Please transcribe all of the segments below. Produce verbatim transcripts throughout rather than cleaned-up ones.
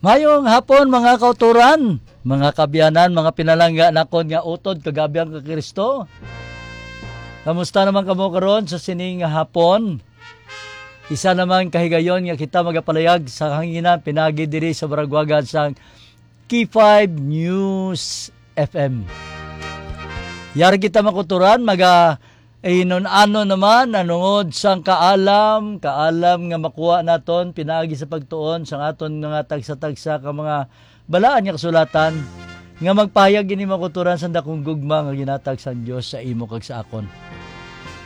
Mayong hapon, mga kauturan, mga kaabyanan, mga pinalangga nakon nga utod kag abyan kay Kristo. Kamusta naman kamo karon sa sining nga hapon? Isa naman ka higayon nga kita magapalayag sa kahanginan pinaagi diri sa baragwagan sang K five News F M. Yari kita, mga kauturan, maga-, eh, nun ano naman, nanungod sang kaalam, kaalam nga makuha naton pinaagi sa pagtuon sang aton mga tagsa-tagsa ka mga balaan nga kasulatan, nga magpahayag ini, mga kauturan, sang dakong gugma nga ginatag sang Dios sa imo kag sa akon.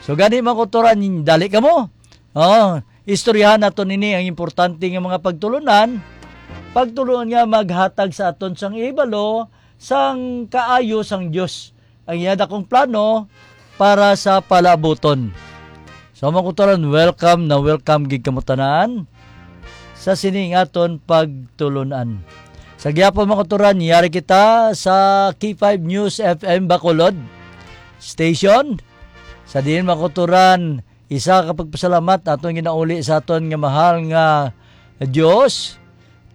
So gani, mga kauturan, dali kamo. Oh, istoryahan naton ini ang importante nga mga pagtulunan, pagtulunan nga maghatag sa aton sang hibalo sang kaayo sang Dios, ang iya dakong plano para sa palaabuton. So, mga kauturan, welcome na welcome gid kamo tanan sa sining aton pagtulunan. Sa gihapon, mga kauturan, yari kita sa K five News F M Bacolod Station. Sa diin, mga kauturan, isa ka pagpasalamat aton ginauli sa aton nga mahal nga Dios,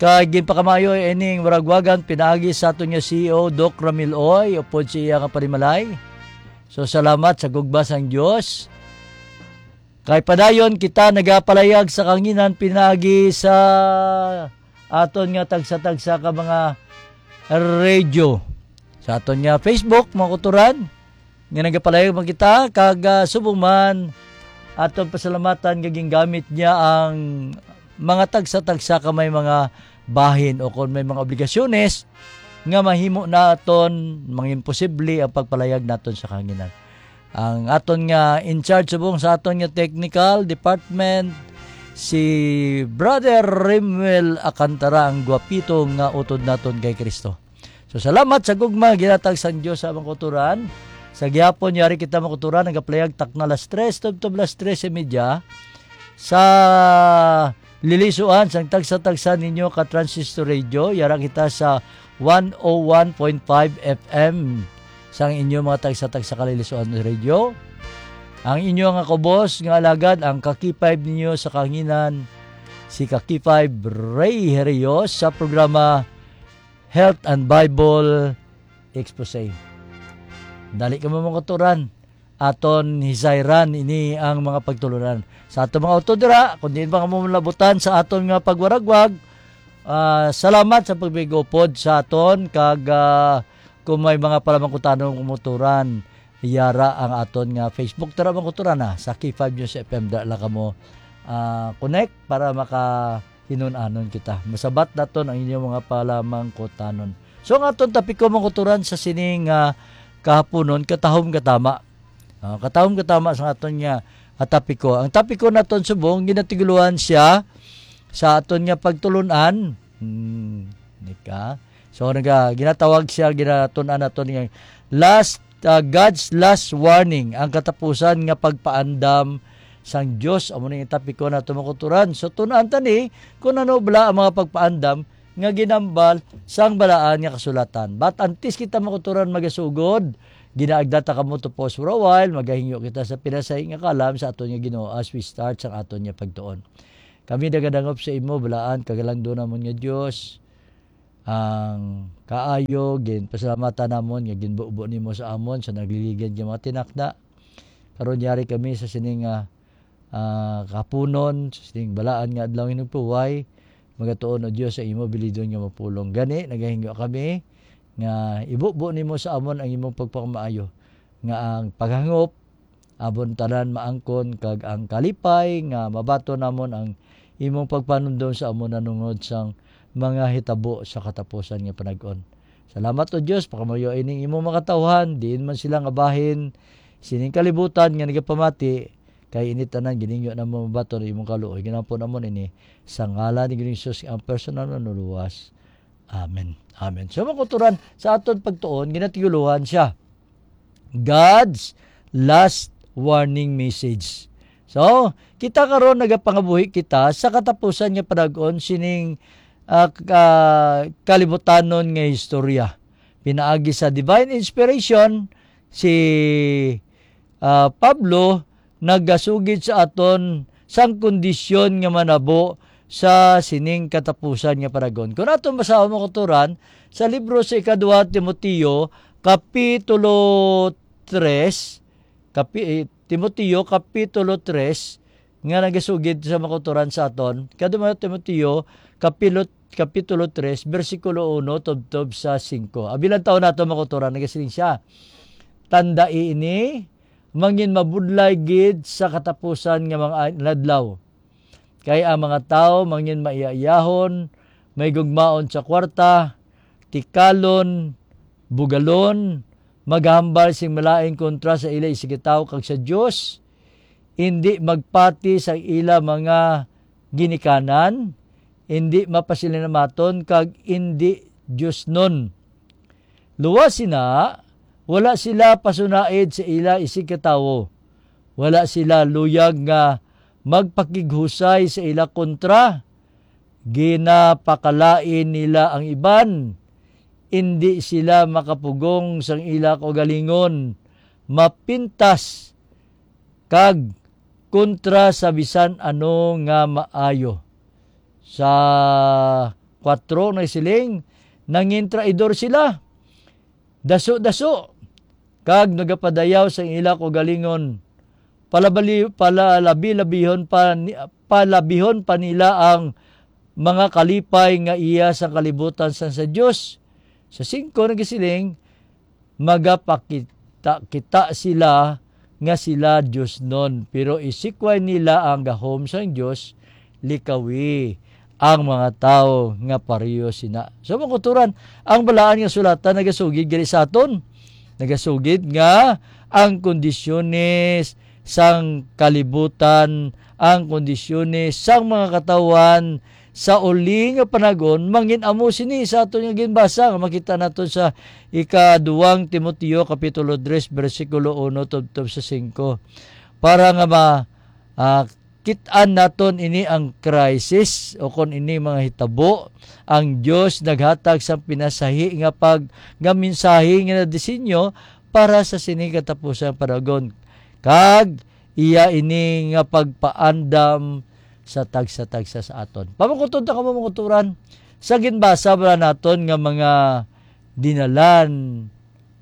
kay ginpakamaayo ining waragwagan pinaagi sa aton nga C E O, Doc Ramil Oy, upod sa iya nga panimalay. So, salamat sa gugma sang Dios. Kay padayon kita nagapalayag sa kanginan pinaagi sa aton nga tagsa-tagsa ka mga radio. Sa aton nga Facebook, mga kauturan, nga nagapalayag man kita, kag, ah, subong man, aton pasalamatan nga gingamit niya ang mga tagsa-tagsa ka may mga bahin o kung may mga obligasyones nga mahimo naton mangin posible ang pagpalayag naton sa kanginan. Ang aton nga in charge subong sa aton nga technical department, si Brother Rimuel Acantara, ang gwapito nga utod naton kay Kristo. So, salamat sa gugma ginatag sang Dios sa mga kauturan. Sa gihapon, yari kita, mga kauturan, nagapalayag takna las tres, tubtob las tres y media. Sa lilisuan sang tagsa-tagsa ninyo ka transistor radio, yara kita sa one oh one point five F M sang inyo mga tagsa-tagsa ka lilisuan radio. Ang inyo nga kubos nga alagad, ang ka-K five ninyo sa kanginan, si ka-K five Ray Herios sa programa Health and Bible Expose. Dali kamo, mga kauturan, aton hisayran ini ang mga pagtulunan. Sa aton mga utod dira, kung diin pa kamo malabutan sa aton nga pagwaragwag, ah, salamat sa pagpigupod sa aton, kag, ah, kung may mga palamangkutanon kumuturan, yara ang aton nga Facebook. Tara, mga kauturan, ah, sa K five News F M, dala kamo, ah, connect para maka hinun-anon kita. Masabat naton ang inyong mga palamangkutanon. So, ang aton topiko, mga kauturan, sa sining, ah, kahaponon, katahom katama. Ah, katahom katama sa aton nga, ah, topiko. Ang topiko naton subong, ginatigulohan siya sa aton nga pagtulun-an. Hmm, nika. So, naga-, ginatawag siya, ginatun-an naton nga last, ah, God's last warning, ang katapusan nga pagpaandam sang Dios. Amo ni ang topiko nato, mga kauturan. So, tun-an ta ni kung ano bala ang mga pagpaandam nga ginambal sang Balaan nga Kasulatan. But antes kita, mga kauturan, magasugod, ginaagda ta kamo to pause for a while, magahingyo kita sa pinasay nga kalam sa aton nga Ginoo as we start sang aton nga pagtuon. Kami nagadangop sa imo, balaan, kagalangdo namon nga Dios. Ang kaayo, ginpasalamatan namon nga ginbubo nimo sa amon sa nagliligad nga mga tinakda. Karon yari kami sa sining, ah, ah, kapunon, sa sining balaan nga adlaw nga nagpahuway. Magatuon, O Dios, sa imo bilidon nga mapulong. Gani, nagahingyo kami nga ibubo nimo sa amon ang imong pagpakamaayo, nga ang paghangop, amon tanan maangkon, kag ang kalipay nga mabaton namon ang imong pagpanumdom sa amon nanungod sang mga hitabo sa katapusan nga panag-on. Salamat, O Dios, pakamayo ining imong mga katawhan, diin man sila nga bahin sining kalibutan nga nagapamati, kay ini tanan giningyo namo mabaton ang imong kaluoy. Ginapo namon ini sa ngalan ni Ginoong Jesus, ang personal nga Manluluwas. Amen. Amen. So, mga kauturan, sa aton pagtuon, ginatigulohan siya God's last warning message. So, kita karon nagapangabuhi kita sa katapusan nga panag-on sining, ah, ka-, kalibutanon nga istorya. Pinaagi sa divine inspiration, si, ah, Pablo nagasugid sa aton sang kondisyon nga manabo sa sining katapusan nga panahon. Kung aton basahon, mga kauturan, sa libro sa Ikaduha Timoteo, Kapitulo tres, kapi-, eh, Timoteo, Kapitulo tres, nga nagasugid sa, mga kauturan, sa aton. Ikaduha Timoteo, Kapilo-, Kapitulo tres, bersikulo uno tubtob sa singko. Abi lang taon nato, mga kauturan, nagasiling siya. Tandai ini, mangin mabudlay gid sa katapusan nga mga adlaw. Kay ang mga tawo mangin maiyayahon, may gugmaon sa kwarta, tikalon, bugalon, maghambal sing malain kontra sa ila isigkatawo kag sa Dios, indi magpati sa ila mga ginikanan, indi mapasalamatan kag indi diosnon. Luwas sina, wala sila pasunaid sa ila isigkatawo. Wala sila luyag nga magpakighusay sa ila kontra. Ginapakalain nila ang iban. Indi sila makapugong sang ila kaugalingon. Mapintas kag kontra sa bisan ano nga maayo. Sa kuwatro nagsiling, nangin traidor sila, daso-daso, kag nagapadayaw sa ila kaugalingon. Palabali-, palalabi-labihon pa ni-, palabihon pa nila ang mga kalipay nga iya sa kalibutan sang sa Dios. Sa singko nagsiling, magapakita kita sila nga sila diosnon, pero isikway nila ang gahom sang Dios, likawi ang mga tawo nga pareho sina. So, mga kauturan, ang Balaan nga Sulatan nagasugid gali sa aton. Nagasugid nga ang kondisyones sang kalibutan, ang kondisyones sang mga katawhan, sa uli nga panahon, mangin-amo sini sa aton nga ginbasa nga makita naton sa ika-duwang Timoteo kapitulo tres, bersikulo uno tubtob sa singko. Para nga ma-, ah, kit-an naton ini ang crisis o kon ini mga hitabo, ang Dios naghatag sang pinasahi nga pag-, nga mensahe nga nadisenyo para sa sini katapusan panahon. Kag iya ini nga pagpaandam sa tagsa-tagsa sa aton. Pamangkuton ta kamo, mga kauturan, sa ginbasa bala naton nga mga dinalan,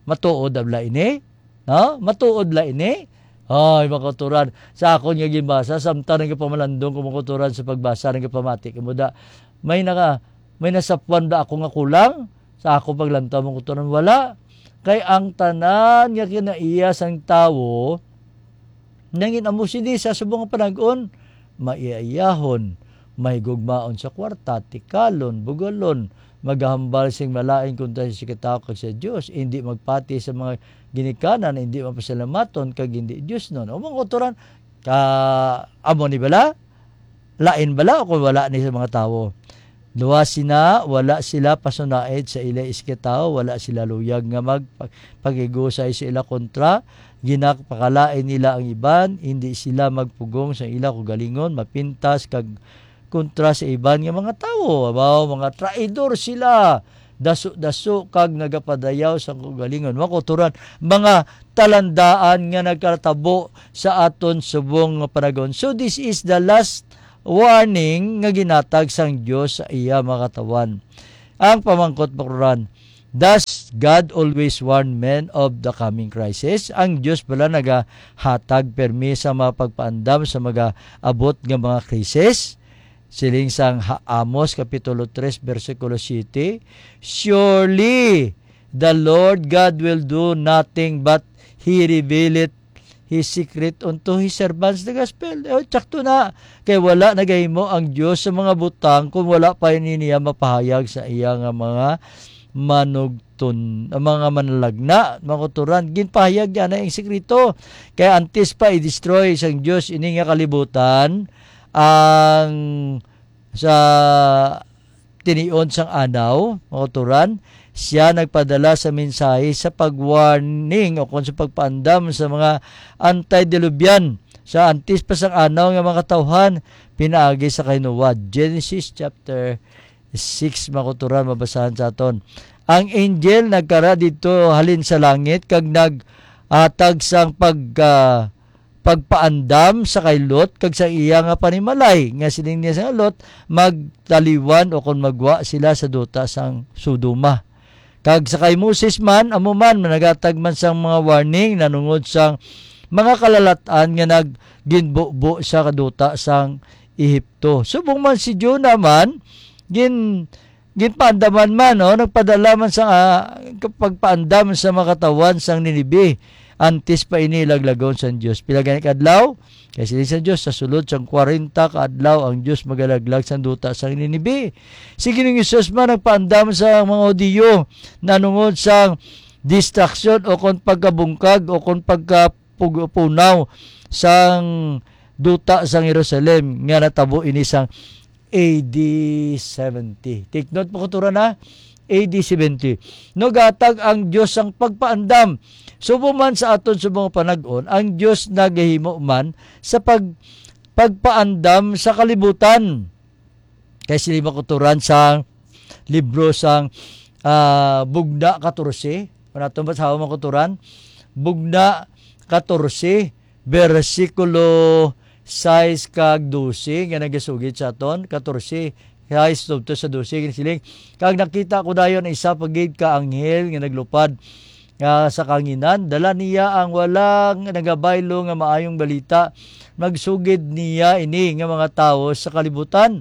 matuod bala ini? No? Matuod la ini? Ay, mga kauturan, sa akon nga ginbasa, samtang nagapamalandong ko, mga kauturan, sa pagbasa, nagapamati kamo da, may naka-, may nasapwan ba ako nga kulang sa ako paglantaw, mga kauturan? Wala. Kay ang tanan nga kinaiya sang tawo, nangin-amo sini sa subong nga panahon, maiyaiyahon, mahigugmaon sa kwarta, tikalon, bugalon, maghambal sing malain kontra sa isigkatawo kag sa Dios, indi magpati sa mga ginikanan, indi mapasalamaton, kag indi diosnon. O, mga kauturan, ka, amo ni bala? Lain bala o kung wala ni sa mga tawo? Luwas sina, wala sila pasunaid sa ila isigkatawo, wala sila luyag nga magpakigusay sa ila kontra, ginapakalain nila ang iban, hindi sila magpugong sa ila kaugalingon, mapintas kag kontra sa iban nga mga tawo. Abaw, mga traidor sila, daso-daso kag nagapadayaw sa kaugalingon. Mga kauturan, mga talandaan nga nagkatabo sa aton subong nga panahon. So, this is the last warning nga ginatag sang Dios sa iya mga katawhan. Ang pamangkot, mga kauturan, does God always warn men of the coming crisis? Ang Dios bala nagahatag permi sa mga pagpaandam sa magaabot nga mga krisis? Siling sang ha-, Amos Kapitulo tres, bersikulo siete, "Surely the Lord God will do nothing, but He revealeth His secret unto His servants the gospel." Oh, tsakto na. Kay wala nagahimo ang Dios sa mga butang kung wala pa ini niya mapahayag sa iya nga mga manugton, ang mga manalagna, mga kauturan. Ginpahayag niya na ang sikreto. Kay antes pa i-destroy sang Dios ini nga kalibutan, ang sa tinion sang anaw, mga kauturan, siya nagpadala sa mensahe sa pag-warning o kon sa pagpaandam sa mga antediluvian sa antes pa sang anaw nga mga katawhan pinaagi sa kahinuwa. Genesis chapter six, mga kauturan, mabasahan sa aton. Ang angel nagkara didto halin sa langit kag naghatag sang pagka-, pagpaandam sa kay Lot kag sa iya nga panimalay, nga siling niya sa Lot, magtaliwan o kon magwa sila sa duta sang Sodoma. Kag sa kay Moses man, amo man, naghatag man sang mga warning nanungod sang mga kalalat-an nga nagginbubo sa kaduta sang Ehipto. Subong man si Jonah man, gin-, ginpaandaman man, no? Nagpadala man sa, ah, pagpaandam sa mga katawhan sang Ninive antes pa ini laglagon sang Dios. Pila gani ka adlaw? Kay siling sa Dios, sa sulod sang kwarenta ka adlaw ang Dios magalaglag sang duta sang Ninive. Si Ginoong Jesus man nagpaandam sa mga Hudiyo nanungod sang distraksyon o kon pagkabungkag o kon pagkapunaw sang duta sang Jerusalem nga natabo ini sang A D seventy. Take note, mga kauturan, ha? A D seventy. Nagatag ang Dios sang pagpaandam. Subong man sa aton subong nga panag-on, ang Dios nagahimo man sa pag-, pagpaandam sa kalibutan. Kay sila, mga kauturan, sa libro sang, ah, Bugna katorse. Kung aton basahon, mga kauturan, Bugna katorse, bersikulo sais kag dose nga nagasugid sa aton, katorse, sais tubto sa dose, nga siling, "Kag nakita ko dayon isa pa gid ka anghel nga naglupad, ah, sa kahanginan. Dala niya ang wala nga nagabaylo nga maayong balita. Magsugid niya ini nga mga tawo sa kalibutan,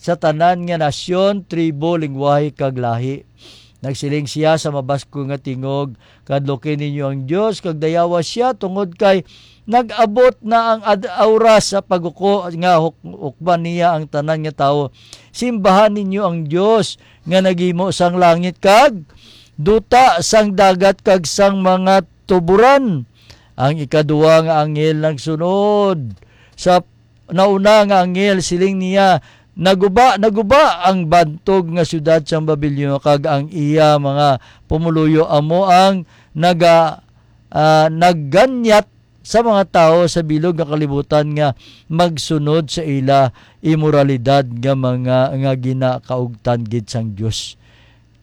sa tanan nga nasyon, tribo, lingwahe, kag lahi." Nagsiling sia sa mabaskog nga tingog, "Kadluki ninyo ang Dios, kag dayawa sia, tungod kay nag-abot na ang ad-, oras sa paghuko nga huk-, hukman niya ang tanan nga tawo. Simbahan ninyo ang Dios nga naghimo sang langit kag duta, sang dagat kag sang mga tuboran." Ang ikaduha nga anghel nagsunod sa nauna nga anghel, siling niya, "Naguba, naguba ang bantog nga siyudad sang Babilon kag ang iya mga pumuluyo, amo ang naga-, ah, nagganyat sa mga tawo sa bilog nga kalibutan nga magsunod sa ila imoralidad nga mga, nga ginakaugtan gid sang Dios."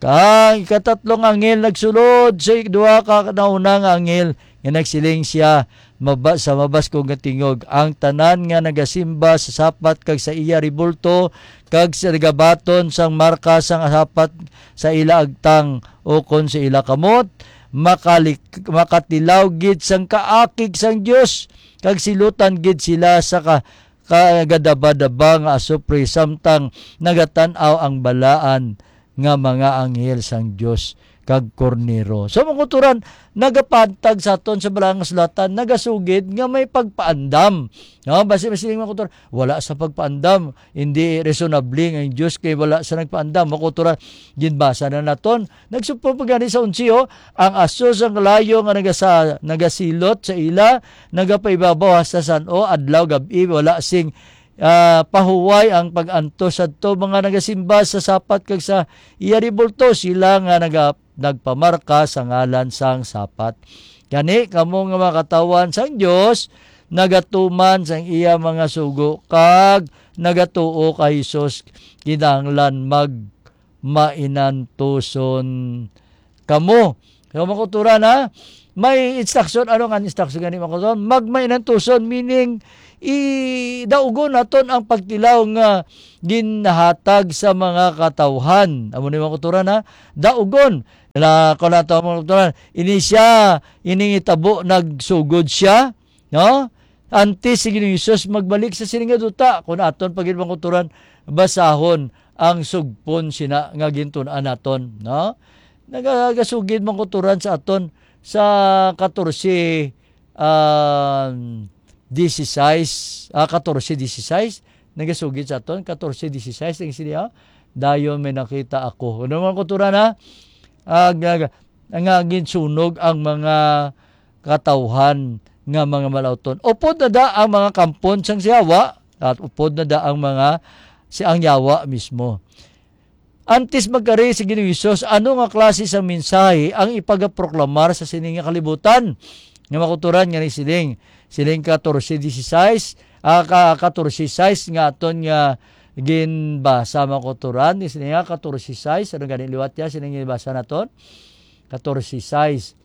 Kag ikatatlong anghel nagsulod sa duha ka nauna nga anghel, nga nagsiling sia maba-, sa mabaskog nga tingog, "Ang tanan nga nagasimba sa sapat kag sa iya rebulto, kag sa nagabaton sang marka sang sapat sa ila agtang ukon sa ila kamot, makalik-, makatilaw gid sang kaakig sang Dios, kag silutan gid sila sa ka-, kagadabadaba nga asupre, samtang nagatan-aw ang balaan nga mga anghel sang Dios kag Kordero." So, mga kauturan, nagapantag sa aton sa Balaang Kasulatan, nagasugid nga may pagpaandam. No? Basi, basi, mga kauturan, wala sa pagpaandam. Hindi reasonable nga ang Dios kay wala sa nagpaandam. Mga kauturan, ginbasa na naton. Nagsugpo pa gani sa onse, oh, "Ang aso sang kalayo nga nagasa-, nagasilot sa ila, nagapaibabaw hasta san-o, adlaw, gab-i, wala sing ah, pahuway ang pag-antos sadto mga nagasimba sa sapat kag sa iya rebulto, sila nga naga-, nagpamarka sa ngalan sang sapat. Gani, kamo nga mga katawhan sang Dios, nagatuman sang iya mga sugo, kag nagatuo kay Jesus, kinahanglan magmainantuson kamo." So, mga kauturan, ha? May instruction. Ano nga instruction gani, mga kauturan? Magmainantuson, meaning, i-, daugon naton ang pagtilaw nga ginahatag sa mga katawhan. Amo ni, mga kauturan, ha? Daugon. Na, kung nato, mga kauturan, ini sia, ining itabo, nagsugod sia, no? Antes si Ginoong Jesus magbalik sa sini nga duta, kung aton pa gid, mga kauturan, basahon ang sugpon sina nga gintun-an naton, no? Nagagasugid, mga kauturan, sa aton sa katorse, um, dieciséis, ah, katorse dieciséis, nagasugid sa aton, katorse dieciséis, ang sini, ah, "Dayon may nakita ako." Ano, mga kauturan, ha? Ah, nga, nga ginsunog ang mga katawhan nga mga malauton. Upod na da ang mga kampon sang si Yawa, at upod na da ang mga, si ang Yawa mismo. Antes magkari si Ginoong Hesus, ano nga klase sang mensahe ang ipagaproklamar sa sini nga kalibutan? Nga mga kauturan, nga ni siling, siling katorse dieciséis, ah, ka-, katorse sais nga aton nga ginbasa, mga kauturan, ni siling nga katorse sais, ano gani liwat niya, siling ginbasa naton? Katorse sais.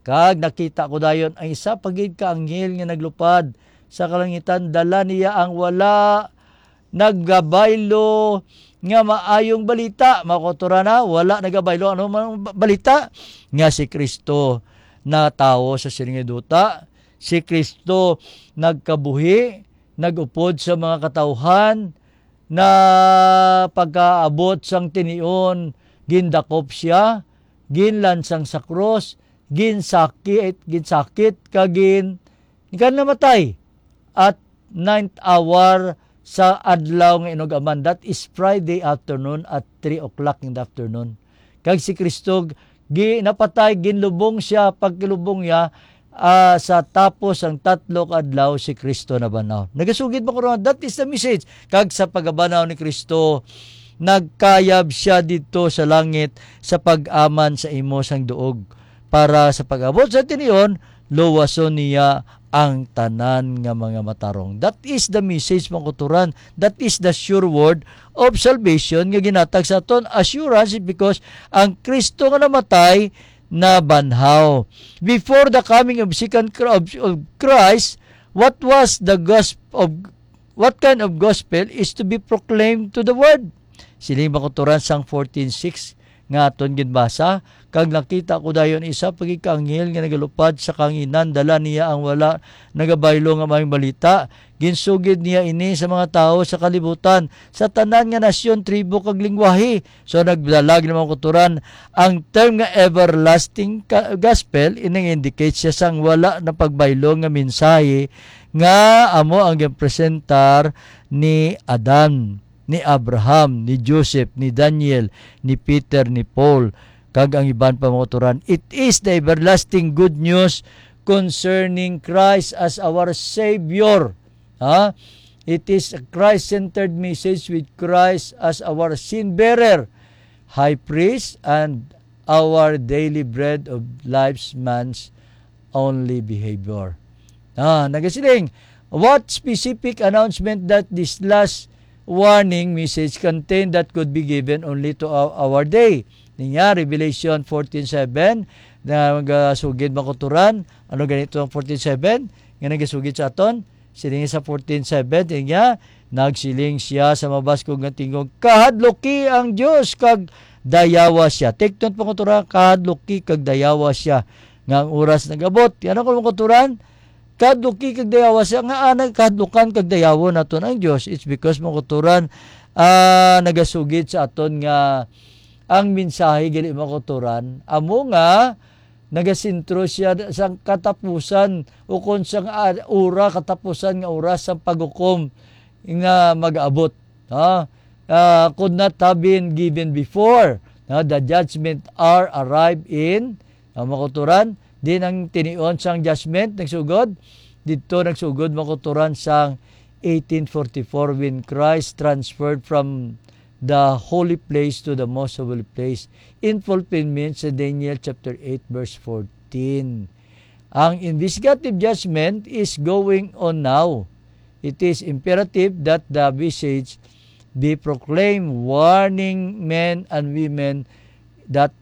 Kag nakita ko dayon ang isa pa gid ka anghel nga naglupad sa kalangitan, dala niya ang wala nagabaylo nga maayong balita. Mga kauturan, ha, wala nagabaylo ano man ang ba-, balita nga si Kristo natawo sa sining duta, si Kristo nagkabuhi, nag-upod sa mga katawhan, na pagkaabot sang tinion, gindakop sia, ginlansang sa krus, ginsakit, ginsakit, kag gin-, kan namatay at ninth hour sa adlaw nga inug-aman. That is Friday afternoon at three o'clock in the afternoon. Kag si Kristo gi-, napatay, ginlubong sia, pagkalubong niya, ah, sa tapos ang tatlo ka adlaw si Kristo nabanhaw. Nagasugid ba ko ron? That is the message. Kag sa pagabanaw ni Kristo, nagkayab sia didto sa langit sa pag-aman sa imo sang duog, para sa pag-abot sa tinion, luwason niya ang tanan nga mga matarong. That is the message, mga kauturan. That is the sure word of salvation nga ginatag sa aton. Assurance is because ang Kristo nga namatay, nabanhaw. Before the coming of second Chr-, of, of Christ, what was the gospel of, what kind of gospel is to be proclaimed to the world? Siling, mga kauturan, sang fourteen six nga aton ginbasa, "Kag nakita ko dayon isa pa gid ka anghel nga nagalupad sa kahanginan, dala niya ang wala nagabaylo nga maayong balita. Ginsugid niya ini sa mga tawo sa kalibutan, sa tanan nga nasyon, tribo, kag lingwahe." So, nagdala gid, mga kauturan, ang term nga everlasting ka-, gospel, ini nga indicate siya sang wala na pagbaylo nga mensahe nga amo ang ginpresentar ni Adan, ni Abraham, ni Joseph, ni Daniel, ni Peter, ni Paul, kag ang iban pa, mga kauturan. It is the everlasting good news concerning Christ as our Savior. Ha? It is a Christ-centered message with Christ as our sin-bearer, high priest, and our daily bread of life's man's only behavior. Ah, nagasiling, what specific announcement that this last warning message contained that could be given only to our, our day? Niya, Revelation fourteen seven, na nagasugid, mga kauturan. Ano ganito ang fourteen seven? Nga nagasugid sa aton? Siling sa fourteen seven, niya, nagsiling siya sa mabaskog nga tingog, "Kahadluki ang Dios kag dayawa siya." Take note, mga kauturan, "Kahadluki kag dayawa siya, nga ang oras nag-abot." Yan ako, mga kauturan, "Kahadluki kag dayawa siya." Nga anay kahadlukan kag dayawon naton ang Dios? It's because, mga kauturan, ah, nagasugid sa aton nga ang mensahe gali, mga kauturan, amo nga nagasentro siya sa katapusan, ukon sa nga ora, katapusan nga oras sa paghukom nga mag-abot. Ha? Ah, could not have been given before. Na, the judgment hour arrived in, ah, mga kauturan. Din ang tinion sang judgment nagsugod. Dito nagsugod, mga kauturan, sang eighteen forty-four, when Christ transferred from the holy place to the most holy place, in fulfillment sa Daniel chapter eight, verse fourteen. Ang investigative judgment is going on now. It is imperative that the message be proclaimed, warning men and women that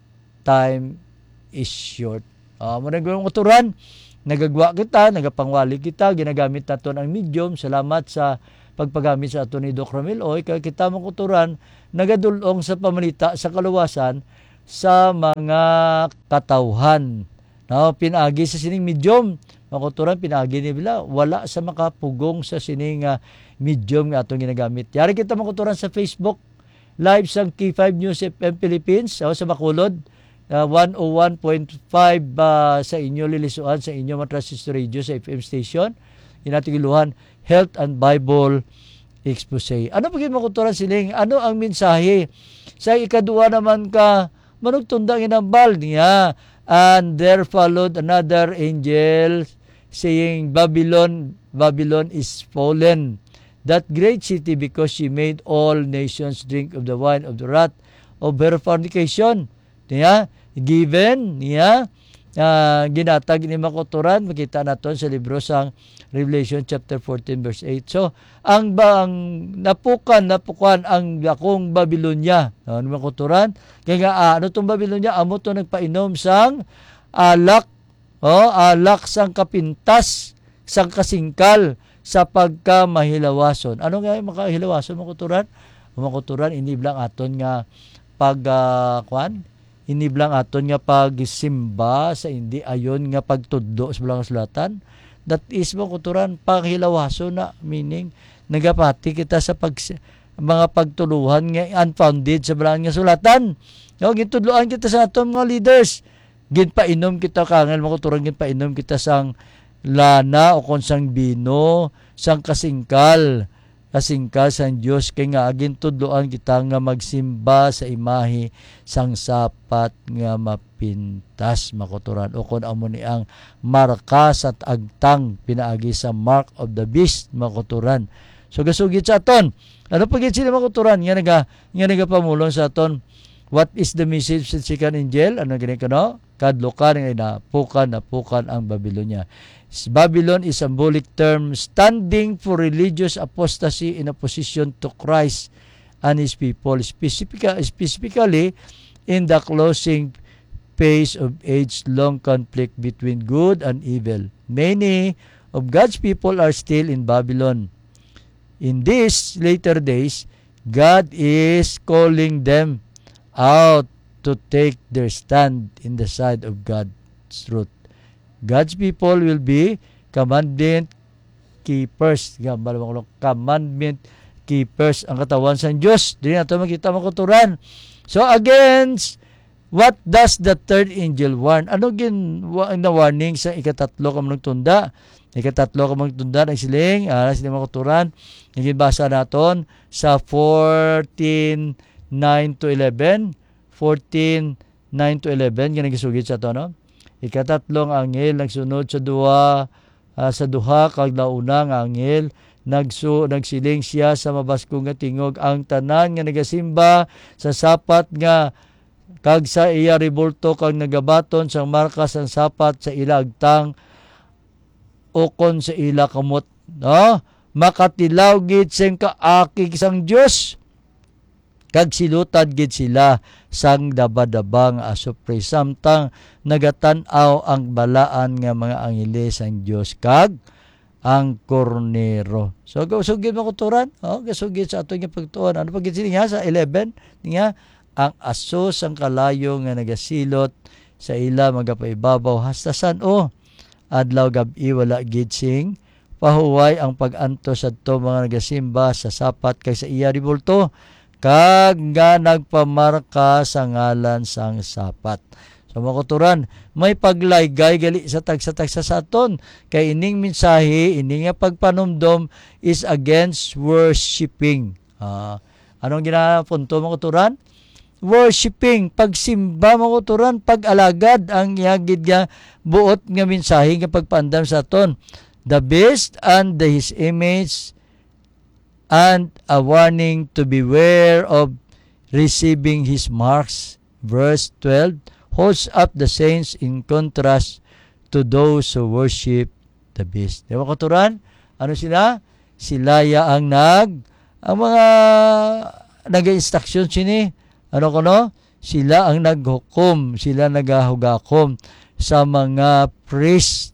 time is short. Ah, mo nang mga kauturan, nagagwa kita, nagapangwali kita, ginagamit naton ang medium. Salamat sa pagpagamit sa aton ni Doc Ramil Oy, kay kita, mga kauturan, nagadul-ong sa pamalita sa kaluwasan sa mga katawhan. No, pinaagi sa sining medium, mga kauturan, pinaagi ni bila, wala sa makapugong sa sining, ah, medium nga atong ginagamit. Yari kita, mga kauturan, sa Facebook Live sang K five News F M Philippines, o, sa Bacolod, ah, one oh one point five, ah, sa inyo lilisuan, sa inyo mga transistor radio, sa F M station. Inatigiluhan, Health and Bible Expose. Ano pa gid, mga kauturan, siling? Ano ang mensahe? Sa ikaduha naman ka manugtunda nga hinambal niya, "And there followed another angel, saying, 'Babylon, Babylon is fallen, that great city, because she made all nations drink of the wine of the wrath of her fornication.'" Niya, given niya, ah, ginatag ni mga kauturan, makita naton sa libro sang Revelation chapter fourteen, verse eight. So, ang ba, ang napukan, napukan ang dakong Babylonia. No, mga kauturan? Kaya nga, ah, ano tong Babylonia? Amo to nagpainom sang alak, O, alak sang kapintas, sang kasingkal, sa pagkamahilawason. Ano nga yung makahilawason, mga kauturan? Mga kauturan, ini bala ang aton nga pag, ah, kwan? Ini bala ang aton nga pagsimba sa indi ayon nga pagtudlo sa bala nga sulatan. That is, mga kauturan, panghilawason na, meaning, nagapati kita sa pag-, mga pagtuluhan nga unfounded sa bala nga sulatan. No, gintudloan kita sa aton mga leaders. Ginpainom kita, kangil, mga kauturan, ginpainom kita sang lana o kon sang bino, sang kasingkal, kasingkal sang Dios, kay nga gintudloan kita nga magsimba sa imahe sang sapat nga mapintas, mga kauturan, o kon amo ni ang marka sa agtang pinaagi sa mark of the beast, mga kauturan. So, gasugid sa aton. Ano pa gid sila, mga kauturan, nga naga-, nga nagapamulong sa aton? What is the message sa second angel? Ano gini kuno? Kadlukan nga inapukan, napukan ang Babylonia. S-, Babylon is symbolic term standing for religious apostasy in opposition to Christ and his people, specifica-, specifically in the closing phase of age-long conflict between good and evil. Many of God's people are still in Babylon. In these later days, God is calling them out to take their stand in the side of God's truth. God's people will be commandment keepers. Nga, malamang, commandment keepers ang katawan sang Dios. Dili nato makita, mga kauturan. So, against, what does the third angel warn? Ano gin-, wa-, na warning sa ikatatlo ka manugtunda? Ikatatlo ka manugtunda, nagsiling, ah, sila, mga kauturan, nga ginbasa naton sa fourteen nine to eleven, fourteen nine to eleven, nga nagisugid sa ato, no? Ikatatlong anghel nagsunod sa duha, ah, sa duha, kag nauna nga anghel nagsu-, nagsiling sia sa mabaskog nga tingog, "Ang tanan nga nagasimba sa sapat nga kag sa iya rebulto, kag nagabaton sang marka sang sapat sa ila agtang ukon sa ila kamot, no, makatilaw gid sing kaakig sang Dios, kag silotad gid sila sang dabadaba nga asupre, samtang nagatan-aw ang balaan nga mga anghel sang Dios kag ang Kordero." So, gasugid, mga kauturan, oh, gasugid sa aton nga pagtuon. Ano pa gid sini nga sa eleven? Nga, "Ang aso sang kalayo nga nagasilot sa ila magapaibabaw hasta san-o? Adlaw gab-i wala gid sing pahuway ang pag-antos sadto mga nagasimba sa sapat kag sa iya rebulto, kag nga nagpamarka sa ngalan sang sapat." So, mga kauturan, may paglaygay gali sa tagsa-tagsa sa aton, kay ining mensahe, ini nga pagpanumdom is against worshiping. Ah, anong ginapunto, mga kauturan? Worshiping, pagsimba, mga kauturan, pag-alagad ang iya gid nga buot nga mensahe nga pagpaandam sa aton. The beast and the, his image and a warning to beware of receiving his marks. Verse twelve holds up the saints in contrast to those who worship the beast. Di ba, kauturan? Ano sila? Sila ya ang nag-, ang mga nag-instruction sini. Ano kuno? Sila ang naghukom, sila nagahugakom sa mga priest,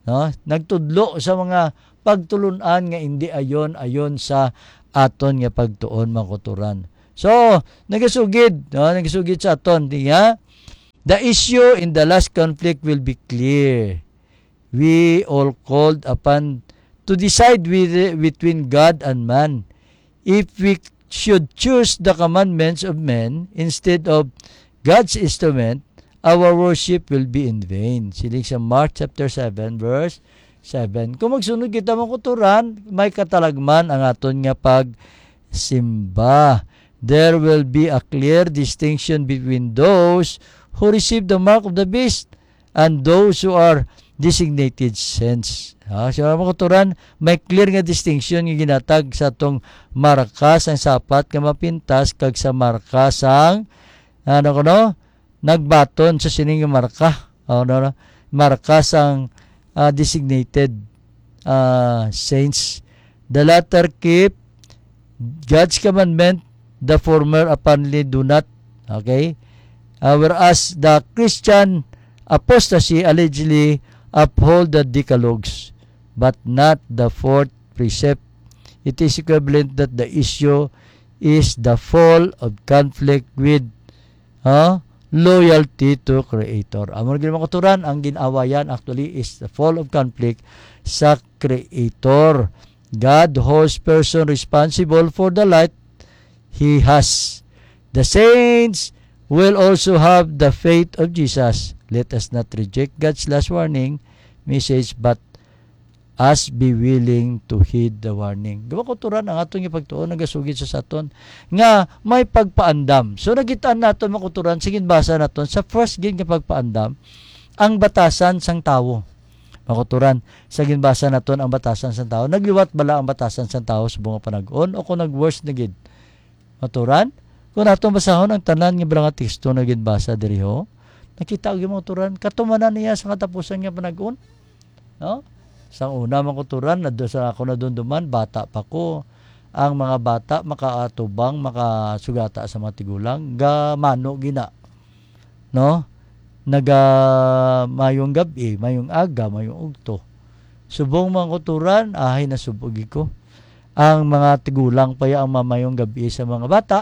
no? Nagtudlo sa mga pagtulon-an nga indi ayon, ayon sa aton nga pagtuon, mga kauturan. So, nagasugid, no? Nagasugid sa aton, di nga? The issue in the last conflict will be clear. We all called upon to decide with, between God and man. If we should choose the commandments of men instead of God's instrument, our worship will be in vain. Siling sa Mark chapter seven, verse seven. Kung magsunod kita, mga kauturan, may katalagman ang aton nga pagsimba. There will be a clear distinction between those who receive the mark of the beast and those who are designated saints. Ha, so, mga kauturan, may clear nga distinction nga ginatag sa atong marka sang sapat nga mapintas kag sa marka sang, ano kuno, nagbaton sa sining nga marka. O, no, no? Marka sang, ah, designated, ah, saints. The latter keep God's commandment, the former apparently do not. Okay? Ah, whereas the Christian apostasy allegedly uphold the decalogues, but not the fourth precept. It is equivalent that the issue is the fall of conflict with, ah, loyalty to Creator. Amo na gid, mga kauturan, ang gin-awayan actually is the fall of conflict sa Creator. God holds person responsible for the light he has. The saints will also have the faith of Jesus. Let us not reject God's last warning message, but us be willing to heed the warning. Di ba, kauturan, ang atong ipagtuon nagasugid sa saton nga may pagpaandam. So, nakitaan naton, mga kauturan, sa ginbasa naton sa first gid nga pagpaandam, ang batasan sang tawo. Mga kauturan, sa ginbasa naton ang batasan sang tawo. Nagliwat bala ang batasan sang tawo subong nga panag-on, o kung nag-worse na gid? Mga kauturan, kung atong basahon ang tanan nga bala nga teksto nga ginbasa diri, ho, nakita gyud, mga kauturan, katumanan niya sa katapusan nga panag-on. No? Sa una, mga kauturan, nado sa ako nadumduman, bata pa ko. Ang mga bata makaatubang, makasugata sa mga tigulang, gamano gina. No? Naga mayong gab-i, mayong aga, mayong ugto. Subong, mga kauturan, ahay, nasub-og ko. Ang mga tigulang pa ya ang mamayong gab-i sa mga bata.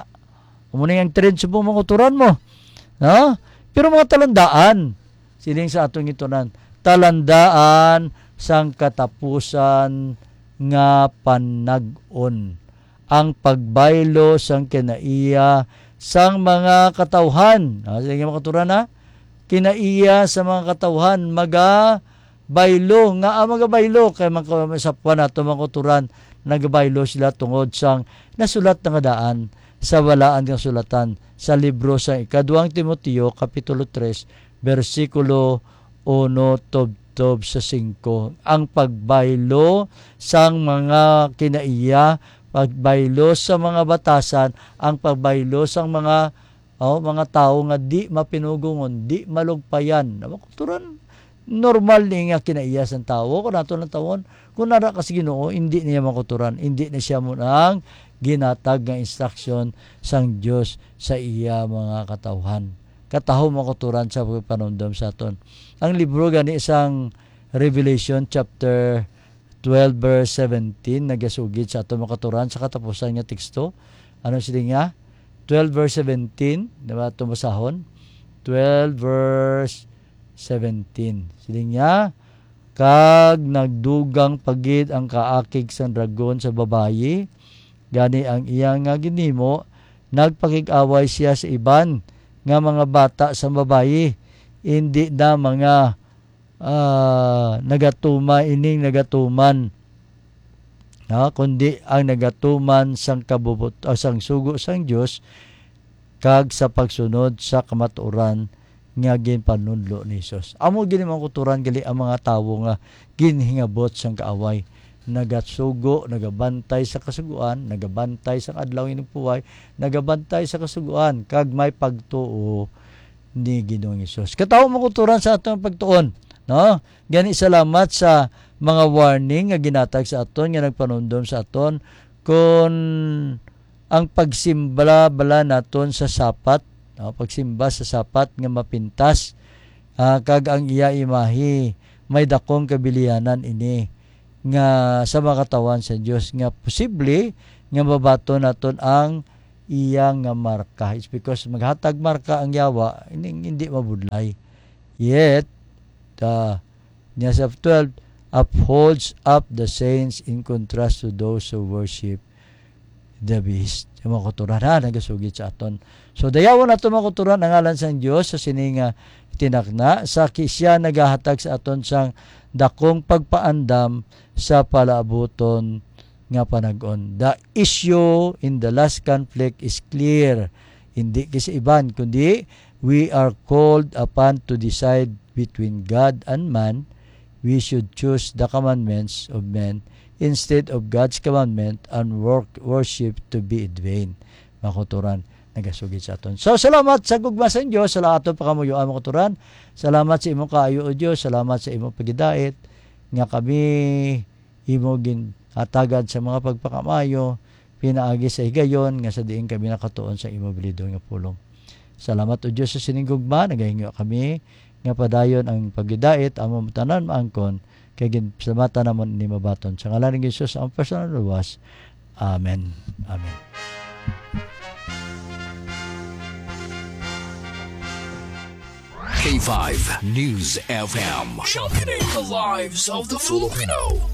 Amo na ang trend subong, mga kauturan, mo. No? Pero mga talandaan, siling sa atong gintunan, talandaan sang katapusan nga panag-on, ang pagbaylo sang kinaiya sang mga katawhan. Ah, sige, mga kauturan, ha? Kinaiya sa mga katawhan, magabaylo. Nga, ah, magabaylo? Kay mga sapwan nato, mga kauturan, nagabaylo sila tungod sang nasulat na nga daan sa balaan nga sulatan sa libro sa Ikaduhang Timoteo, Kapitulo tres, bersikulo uno tubtob sa singko. Ang pagbaylo sang mga kinaiya, pagbaylo sa mga batasan, ang pagbaylo sang mga, oh, mga tawo nga di mapinugongon, di malugpayan. Mga kauturan, normal ni nga kinaiya sang tawo. Kung nato lang tawon, kung nara ka sa Ginoo, hindi niya, mga kauturan, hindi na siya mo ang ginatag nga instruction sang Dios sa iya mga katawhan. Kataho, mga kauturan, sa pagpanumdom sa aton. Ang libro gani sang Revelation chapter twelve verse seventeen nagasugid sa aton, mga kauturan, sa katapusan nga teksto. Ano sila nga? Twelve verse seventeen, di ba? Atong basahon. Twelve verse seventeen. Sila nga, "Kag nagdugang pa gid ang kaakig sang dragon sa babayi, gani ang iya nga ginhimo, nagpakig-away siya sa iban nga mga bata sang babayi, indi na mga, ah, nagatuman, ining nagatuman, ha, kundi ang nagatuman sang kabubot-, ah, sang sugo sang Dios, kag sa pagsunod sa kamatuoran nga ginpanudlo ni Jesus." Amo gini, mga kauturan, gali ang mga tawo nga ginhingabot sang kaaway. Nagasugo, nagabantay sa kasugoan, nagabantay sa adlaw nga inugpuway, nagabantay sa kasugoan, kag may pagtuo ni Ginoong Jesus. Katawo, mga kauturan, sa aton pagtuon, no? Gani, salamat sa mga warning nga ginatag sa aton, nga nagpanumdom sa aton kon ang pagsimba bala naton sa sapat, no? Pagsimba sa sapat nga mapintas, ah, kag ang iya imahe, may dakong kabilianan ini nga sa mga katawhan sa Dios, nga posible nga mabaton naton ang iya nga marka. It's because maghatag marka ang Yawa, hindi, hindi mabudlay. Yet, ah, niya sa twelve, upholds up the saints in contrast to those who worship the beast. Yung mga kauturan, ha, nagasugid sa aton. So, dayawon nato, mga kauturan, ang ngalan sang Dios sa sini nga tinakna, sa ki-, siya nagahatag sa aton sang dakong pagpaandam sa palaabuton nga panag-on. The issue in the last conflict is clear. Hindi kay sa iban, kundi we are called upon to decide between God and man. We should choose the commandments of men instead of God's commandment and work, worship to be in vain. Mga kauturan, nagasugid sa aton. So, salamat sa gugma sa Dios, sa aton pangamuyoan, mga kauturan. Salamat sa imong kaayo, O Dios. Salamat sa imong pagidait nga kami imo ginhatagan sa mga pagpakamayo, pinaagi sa higayon nga sa diin kami nakatuon sa imo bilidon nga pulong. Salamat, O Dios, sa sining gugma. Nagahinyo kami nga padayon ang paghidait, amo tanan maangkon, kay ginpasalamatan namon ini mabaton sa ngalan ni Jesus, ang personal luwas. Amen. Amen. K five News F M. Championing the lives of the Filipino.